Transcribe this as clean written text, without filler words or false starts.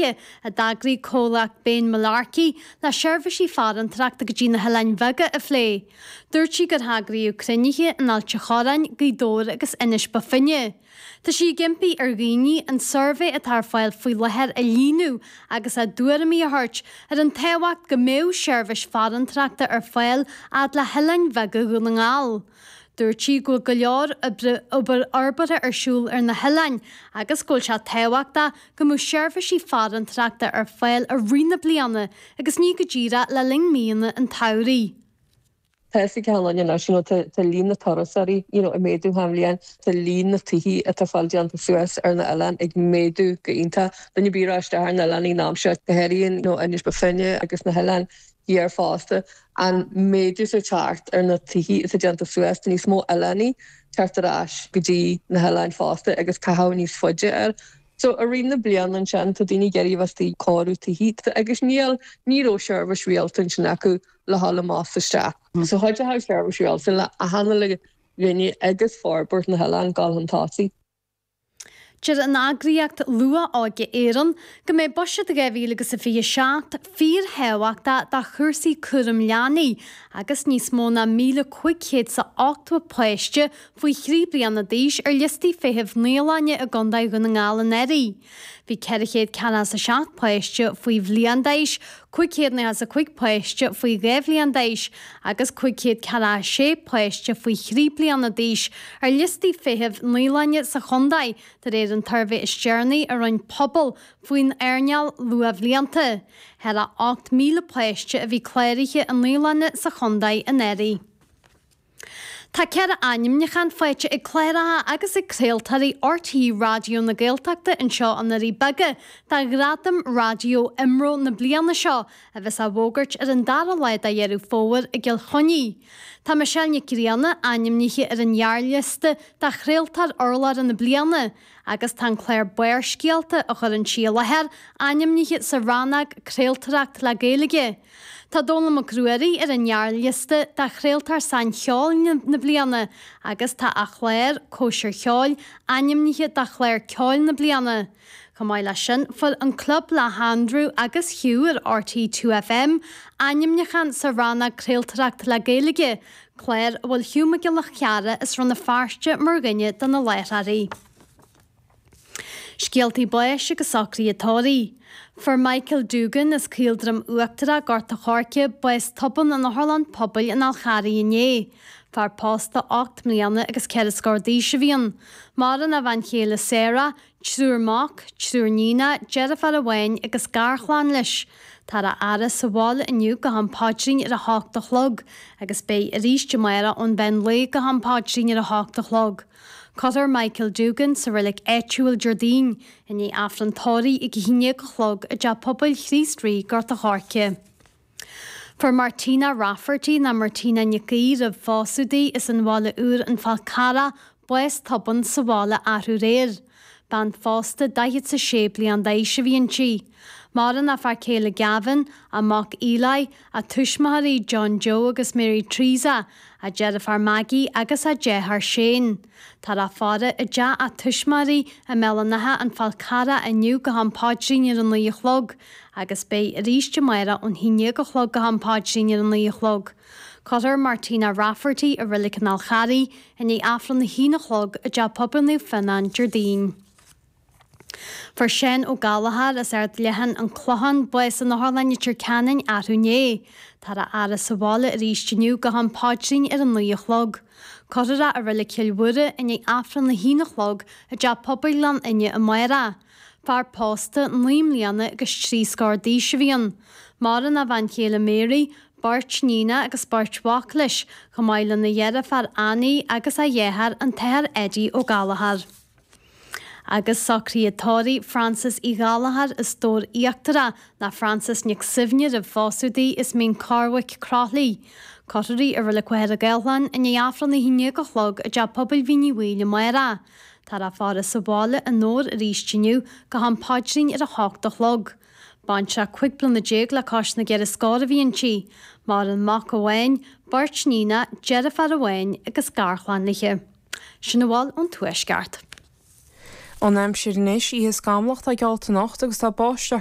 cruinnithe a d'eagraigh comhlacht Bane Mullarkey le seirbhísí farantóireachta go dtí na hOileáin Bheaga a phlé. Dúirt sí gur heagraíodh cruinnithe in Ailt a' Chorráin, Gaoth Dobhair agus Inis Bó Finne. Tá sí ag impí ar dhaoine an suirbhé atá ar fáil faoi láthair a líonadh agus a dtuairimí a thabhairt ar an tábhacht go mbeadh seirbhís farantóireachta ar fáil fhad le hoileáin bheaga Dhún na nGall. Dúirt sí go bhfuil go leor oibre obair fhorbartha ar siúl ar na hoileáin agus go bhfuil sé tábhachtach go mbeadh seirbhísí farantóireachta ar fáil i rith na bliana agus ní go díreach le linn míonna an tsamhraidh. Tá fhios ag achan duine anois, you know, tá tá líon na turasóirí, you know, ag méadú achan bhliain, tá líon na tithe atá ag fáil déanta suas ar na oileáin ag méadú go iontach. Duine ar bith a raibh isteach ar na oileáin an am seo, go háirithe, you know, Inis Bó Finne agus na hoileáin thiar fosta, an méadú atá ag teacht ar na tithe atá déanta suas, tá níos mó oileánaigh teacht ar ais go dtí na hoileáin fosta agus caitheamh níos faide air. So i rith na bliana ansin tá daoine ag iarraidh a bheith istigh ag cóiriú tithe agus níl, ní raibh seirbhís rialta ansin acu le dhul amach 's isteach. So chuideodh seirbhís rialta le achan uile dhuine agus forbairt na hoileán dul chun tosaigh. Deir an eagraíocht Luath-Óige Éireann go mbeidh Buiséad 2027 fíorthábhachtach do chúrsaí cúram leanaí agus níos mó ná 1,580 páiste faoi thrí bliana d'aois ar liostaí feithimh naíolainne i gContae Dhún na nGall anuraidh. Bhí 447 páiste faoi bhliain d'aois, 595 páiste faoi 2 bhliain d'aois agus 546 páiste faoi thrí bliana d'aois ar liostaí feithimh naíolainne sa chontae, de réir an tsuirbhé is deireanaí a rinne Pobal faoin earnáil luathbhlianta. Thar a 8,000 páiste a bhí cláraithe i naíolanna sa chontae anuraidh. Tá 4 ainmniúchán faighte ag cláracha agus ag craoltóirí RTÉ Raidió na Gaeltachta anseo i nDoirí Beaga do Ghradaim Raidió IMRO na bliana seo, a bheas á bhfógairt ar an dara lá de Dheireadh Fómhair i gCill Chainnigh. Tá Michelle Nic Grianna ainmnithe ar an ghearrliosta do Chraoltóir Urlabhra na Bliana agus tá an clár Barrscéalta, a chuireann sí i láthair, ainmnithe sa rannóg Craoltóireacht le Gaeilge. Tá Dónall Mac Ruairí ar an ngearrliosta do Chraoltóir Saincheoil na Bliana agus tá a chlár, Cóisir Cheoil, ainmnithe do Chlár Ceoil na Bliana. Chomh maith leis sin, fuair An Club le hAndrew agus Hugh ar RTÉ 2FM ainmniúchán sa rannóg Craoltóireacht le Gaeilge, clár a bhfuil Hugh Mac Giolla Chearra as Rann na Feirste mar dhuine de na láithreoirí. Scéaltaí báis agus socruithe tórraimh. Fuair Michael Doogan as Caoldroim Uachtarach, Gort a' Choirce, bás tobann in Otharlann Pobail an Fháil Charraigh inné. Fear pósta 8 mbliana agus ceithre scór d'aois a bhí ann. Maireann a bhean chéile Sarah, triúr mac, triúr níonach, deirfiúr amháin agus garchlann leis. Táthar á fhaire sa bhaile inniu go ham paidrín ar a hocht a chlog agus beidh arís amárach ón mheán lae go ham paidrín ar a hocht a chlog. Cuirfear Michael Doogan sa reilig áitiúil Déardaoin, i ndiaidh Aifreann tórraimh ag a haon déag a chlog i dTeach Pobail Chríost Rí, Gort a' Choirce. Fuair Martina Rafferty, nó Martina Nic Aoidh roimh phósadh di, as an Bhaile Úr, An Fál Carrach, bás tobann sa bhaile arú aréir. Bean phósta 46 bliain d'aois a bhí inti. Maireann a fear céile Gavin, a mac Eli, a tuismitheoirí John Joe agus Mary Teresa, a deirfiúr Maggie agus a deartháir Shane. Táthar á faire i dteach a tuismitheoirí i mBéal an Átha, An Fál Carrach inniu go ham paidrín ar a 9 a chlog agus beidh arís amárach ón haon déag a chlog go ham paidrín ar a 9 a chlog. Cuirfear Martina Rafferty i Reilig an Fháil Charraigh i ndiaidh Aifreann a haon a chlog i dTeach Pobail Naomh Fionnán Déardaoin. Fuair Seán Ó Gallchóir as Ard Leathan, An Clochán, bás in Otharlann Leitir Ceanainn arú inné. Táthar á fhaire sa bhaile arís inniu go ham paidrín ar a 9 a chlog. Cuirfear é i Reilig Chill Mhuire i ndiaidh Aifreann a haon a chlog i dTeach Pobail Ghleann Fhinne amárach. Fear pósta, 9 mbliana agus 3 scór d'aois a bhí ann. Maireann a bhean chéile Mary, beirt níonach agus beirt mhac leis, chomh maith lena dheirfiúr Annie agus a dheartháir an tAthair Eddie Ó Gallchóir. Agus socruithe tórraimh Frances Uí Ghallchóir as Dobhar Íochtarach ná Frances Nic Suibhne roimh phósadh di as Mín Corrbhaic, Croithlí. Cuirfear í i Reilig Mhachaire Gathlán i ndiaidh Aifreann a haon déag a chlog i dTeach Pobail Mhín Uí Bhaoill amárach. Táthar á faire sa bhaile i nDobhar arís inniu go ham paidrín ar a hocht a chlog. Baintreach 15 bliana le cois na gceithre scór a bhí inti. Maireann mac amháin, beirt níonach, deirfiúr amháin agus garchlann léi. Sin a bhfuil ón Tuaisceart. An aimsir anois, oíche scamallach atá geallta anocht agus tá báisteach.